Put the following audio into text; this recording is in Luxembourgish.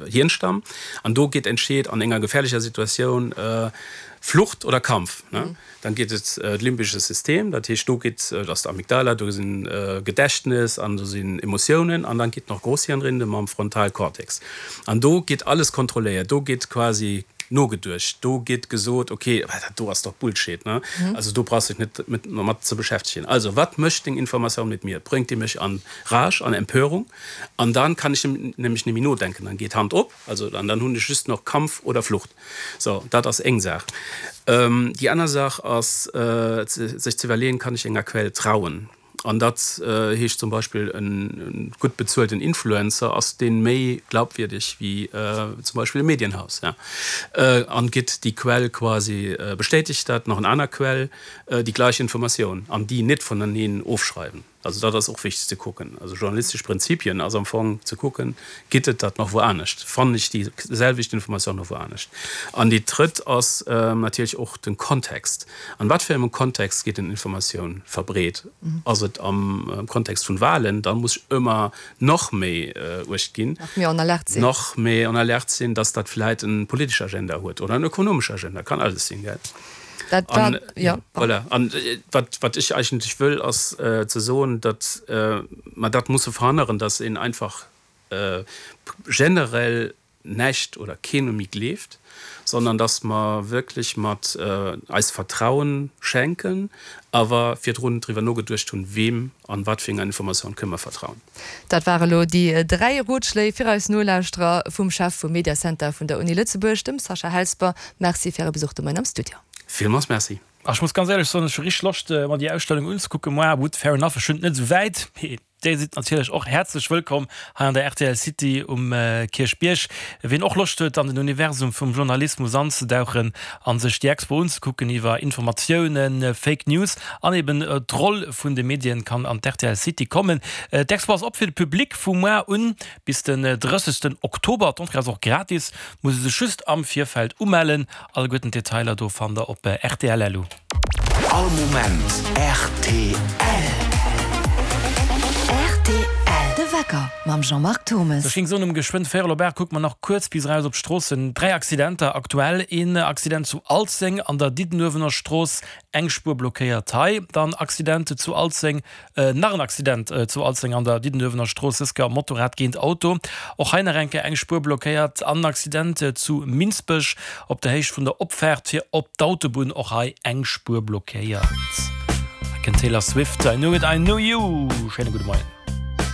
Hirnstamm an do geet entscheet an enger gefährlecher Situatioun Flucht oder Kampf. Dann geet et d'limbesche System, dat heescht do geet, dat ass d'Amygdala, do sinn Gedächtnes an do sinn Emotiounen an dann geet nach Großhirnrinde mam Frontalkortex an do geet alles kontrolléiert, do geet quasi nogeduecht, do geet gesot, ok, dat do ass doch Bullshit, ne, also do brauchs dech net mat ze beschäftegen. Also wat mécht deng Informatioun mit mir? Bréngt déi mech an Rage, an Empörung an dann kann ech nämlech nemmi nodenken, dann geet Hand op, also an dann hunn ech just noch Kampf oder Flucht. So, dat ass eng Saach. Déi aner Saach ass, sech ze iwwerleeën, Kann ech enger Quell trauen? An dat heescht zum Beispill, e gutt bezuelten Influencer, ass dee méi glaubwierdeg wéi zum Beispill e Medienhaus? An gitt déi Quell quasi, bestätegt dat nach en aner Quell déi gleich Informatioun an déi net vuneneen ofschreiwen? Also dat ass och wichteg ze kucken. Also journalistesch Prinzipien ass am Fong ze kucken, gitt et dat nach wou anescht, fannen ech déi selwecht Informatioun nach wou anescht? An déi drëtt ass natierlech och den Kontext. An wat fir engem Kontext gétt en Informatioun verbreet? Ass et am Kontext vun Wahlen? Da muss ech ëmmer nach méi uecht ginn, Nach méi en alerte sinn. Nach méi en alerte sinn, dass dat vläit en politesch Agenda huet oder en ökonomesch Agenda, kann alles sinn, gell? Dat war, An, ja. Voilà. An wat, wat ech eigentlech wëll, ass ze soen, datt mer dat musse verhënneren, datt een einfach generell näischt oder keen méi gleeft, sondern datt mer wierklech mat eis Vertrauen schenken, awer virdrun driwwer nogeduecht hunn, weem an wat fir enger Informatioun kënne mer vertrauen. Dat ware lo déi 3 Rotschléi fir eis Nolauschterer vum Chef vum Mediacenter vun der Uni Lëtzebuerg, dem Sascha Helsper. Merci fir Äre Besuch de Moien am Studio. Villmools Merci. Ech muss ganz éierlech soen, ech hu richteg Loscht mer déi Ausstellung unzekucken. Moi, gutt, fair enough, ech hunn et net esou wäit, mee Dir sidd natierlech och häerzlech wëllkomm hei an der rtl City um Kierchbierg. Wien och Loscht huet an den Universum vum Journalismus anzedauchen an sech déi Expo unzekucken iwwer Informatiounen, Fake News an eben d'Roll vun de Medien, kann an d'RTL City kommen. D'Expo ass op fir de Public vu muar un bis den 30 Oktober. D'Entrée ass och gratis, muss ee sech just am Virfeld umellen. Alleguerten d'Detailer do fannt der op rtl.lu. All Moment rtl. Rtl, De Wecker mam Jean-Marc Thomes. Ech géing soen, um geschwënn véierel op 8 kucke mer nach kuerz bis eraus op d'Stroossen. 3 Accidenter aktuell, een Accident zu Alzeng an der Diddenuewener Strooss, eng Spuer blockéiert hei. Dann Accident zu Alzeng Nach en Accident zu Alzeng an der Diddenuewener Strooss, dës Kéier Motorrad géint Auto. Och hei nach eng Kéier eng Spuer blockéiert. An en Accident zu Minsbech op der Héicht vun der Opfaart fir op d'Autobunn, och hei eng Spuer blockéiert. Hei kënnt d'Taylor Swift, I Knew It, I Knew You. Schéine gudde Moien.